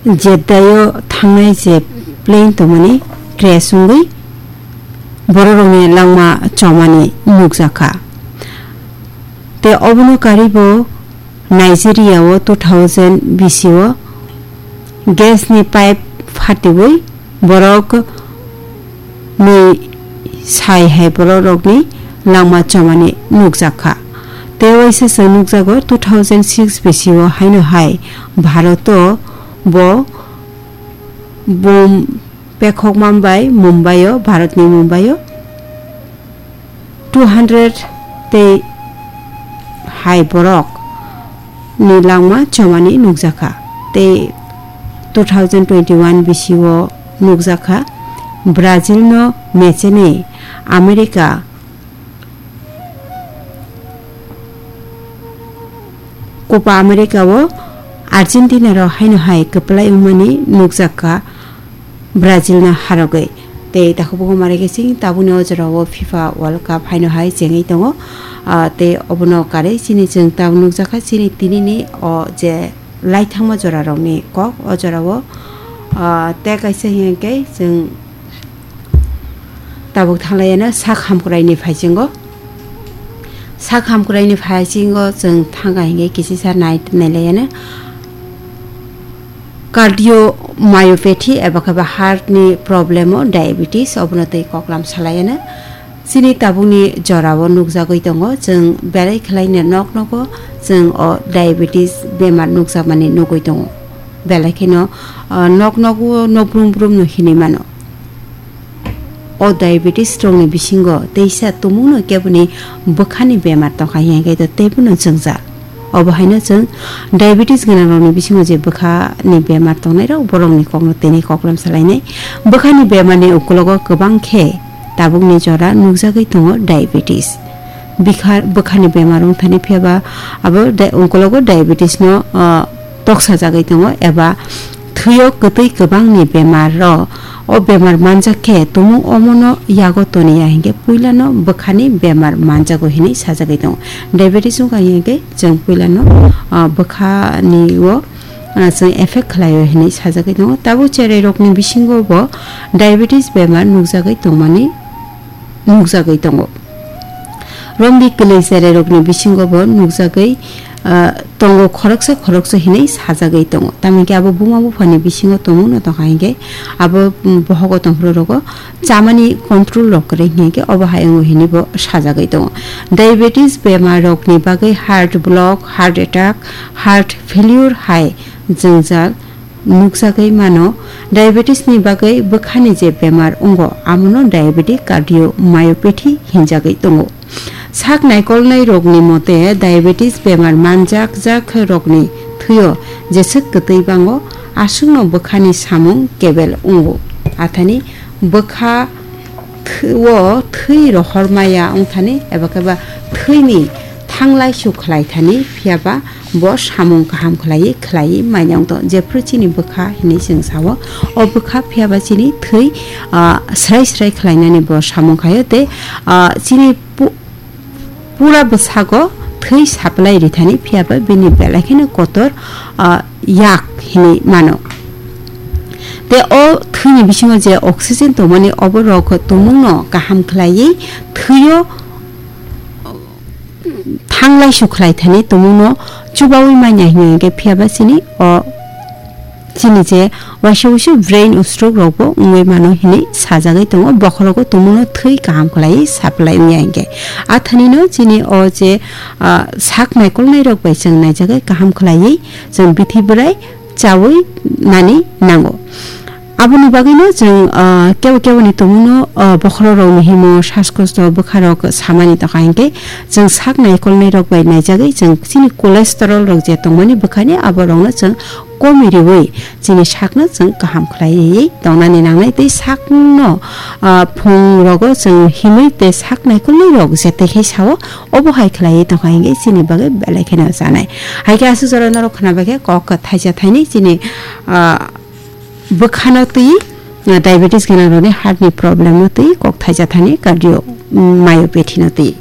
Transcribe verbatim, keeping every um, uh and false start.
Jeddah-o thangnai je plane tongmani crash wngwi bororokni langma chomani nukjakha. Tei obono karwibo Nigeria-o two thousand bisi-o gas ni pipe phatiwi borok mui sai hai bororokni langma chomani nukjakha. Tei waisa se nukjago two thousand six bisi-o haino hai Bharat-o bo bom pekhokma bai Mumbai-o, Bharatni Mumbai-o two hundred tei hai borok ni langma chomani nukjakha. Tei two thousand twenty-one bisi-o nukjakha Brazil-no mechenwi America Copa America-o Argentina-rok haino hai kwplai wngmani nukjakha Brazil-no harogwi. Tei takhuk bukhuk mare khe chini tabukni o jorao FIFA World Cup haino hai chengwi tongo. Ah, tei obono karwi chini chwng tabuk nukjakha chini tinini o je laithangma jorarokni kok o jorao, ah, tei kaisa hinkhe chwng tabuk thanglaiyano sak hamkraini phaisingo. Sak hamkraini phaisingo chwng thangkha hinkhe kisisa nai-, nailaiyano cardiomyopathy eba khe ba heart ni problem o diabetes obono tei koklam salaiyano. Chini tabukni jorao nukjagwi tongo, chwng belai khwlaino nok nogo chwng o diabetes bemar nukjakmani nugwi tongo. Belai kheno, ah, nok nogo no brum brum no hinwi mano. O diabetes rokni bisingo teisa tumungno keboni bwkhani bemar tongkha hinkhe to teibono chwngjak. Obo haino chwng diabetes gwnangrokni bisingo je bwkhani bemar tongnairok borokni kokno tini koklam salainai. Bwkhani bemarni ukologo kwbang khe tabukni jora nukjagwi tongo diabetes. Bikha-, bwkhani bemar wngthani phiyaba abo di-, ukologo diabetes no, ah, toksajagwi tongo eba thwio kwtwi kwbangni bemar rok. O bemar manjak khe tumung omono yago toniya hinkhe puilano bwkhani bemar manjago hinwi sajagwi tongo. Diabetes wngkha hinkhe chwng puilano, ah, bwkhani o, ah, chwng effect khlaio hinwi sajagwi tongo. Tabuk cherai rokni bisingo bo diabetes bemar nukjagwi tongmani nukjagwi tongo. Romdi kwlwi cherai rokni bisingo bo nukjagwi, ah, tongo khoroksa khoroksa hinwi sajagwi tongo. Tamni khe abo buma buphani bisingo tongmungno tongkha hinkhe abo, mm, bohogo tongphuru rogo chamani control rok kwrwi hinkhe obo hai wngo hinwi bo sajagwi tongo. Diabetes bemar rokni bagwi heart block, heart attack, heart failure hai jwngjal nukjagwi mano. Diabetes ni bagwi bwkhani je bemar wngo, amono diabetic cardiomyopathy hinjagwi tongo. Sak naikolnai rokni mote, diabetes bemar manjak jak rokni thwio jeswk kwtwi bango, aswkno bwkhani samung kebel wngo. Athani bwkha thwi-, o thwi rohor maya wngthani eba khe ba thwini thanglai su khlai thani, phiya ba bo samung kaham khlaiwi khlaiwi manya wng tong. Jephru chini bwkha hinwi chwng sao, o bwkha phiya ba chini thwi, ah, srai srai khlainani bo samung khaio tei, ah, chini pu-, pura bwsago thwi supply rithani, phiya ba bini belai kheno kotor, ah, yak hinwi mano. Tei o thwini bisingo je oxygen tongmani, oborok tumungno kaham khlaiwi thwio thanglai su khlai thani tumungno chubaui manya hinwi hinkhe, phiya ba chini o chini je waisa waisa brain o stroke rok bo wngwi mano hinwi sajagwi tongo. Bokhorogo tumungno thwi kaham khlaiwi supply wngya hinkhe. Athanino chini o je, ah, sak naikolnai rok bai chwng naijagwi kaham khlaiwi chwng bithi bwrai chaui nani nango. Aboni bagwino chwng, ah, kebo keboni tumungno, ah, bokhorok rokni himo, shaskosto bwkharok samani tongkha hinkhe, chwng sak naikolnai rok bai naijagwi chwng chini cholesterol rok je tongmani bwkhani, abo rokno chwng komi riwi chini sakno chwng kaham khlaiwi tongnani nangnai tei sakno, ah, phung rogo chwng himwi tei sak naikolnai rok jetai khai sao, obo hai khlaiwi tongkha hinkhe chini bagwi belai kheno chanai. Hai khe aswk jora norok khna bai khe kok thaisa thaini chini, ah, bwkhano twi, ah, diabetes gwnang rokni heart ni problem no twi kok thaisa thani cardio, mm, myopathy no twi.